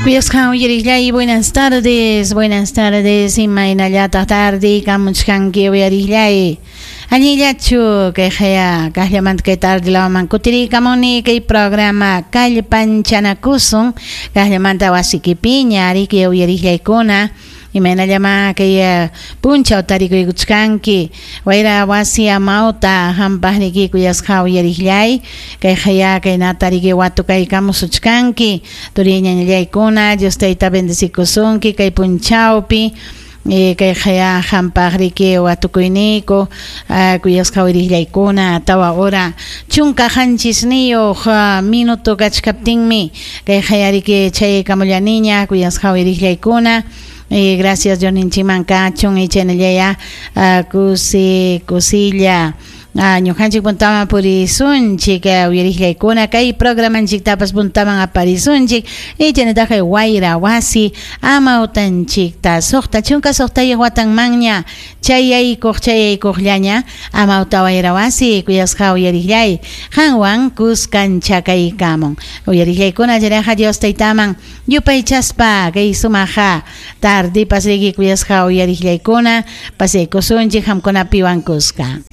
Kuyasqan uyariqllay, buenas tardes, buenas tardes, imaynallataq tardiykamuchkanki uyariqllay. Allinllachu kayqaya kaqllamanta kay tarde lawman kutiriykamuni kay programa kallpanchanakusun kaqllamanta wasikipiña ariki uyariqllaykuna. Imaynallamá kay punchaw tarikuykuchkanki wayra wasi amawta hampaqniki kuyasqa uyariqllay kayqaya kaynata riki watukaykamusuchkanki turiy ñañallaykuna Dios tayta bendecikusunki kay punchawpi kayqaya hampaq riki watukuyniyku kuyasqa uyariqllaykuna 4 hora 17 minuto kachkaptinmi kayqaya riki chayaykamullaniña kuyasqa uyariqllaykuna. Gracias Diosninchikman kachun chaynallaya kusi kusilla ñuqanchik puntaman purisunchik uyariqllaykuna kay programanchiktapas puntaman aparisunchik y chaynataq wayra wasi amawtanchikta 66 watanmanña chayaykuq chayaykuqllaña amawta wayra wasi kuyasqa uyariqllay qanwan kuskanchakaykamun uyariqllaykuna chayraqa Dios taytaman yupaychaspa kay sumaqa tardipas riki kuyasqa uyariqllaykuna pasaykusunchik qamkunapiwan kuska.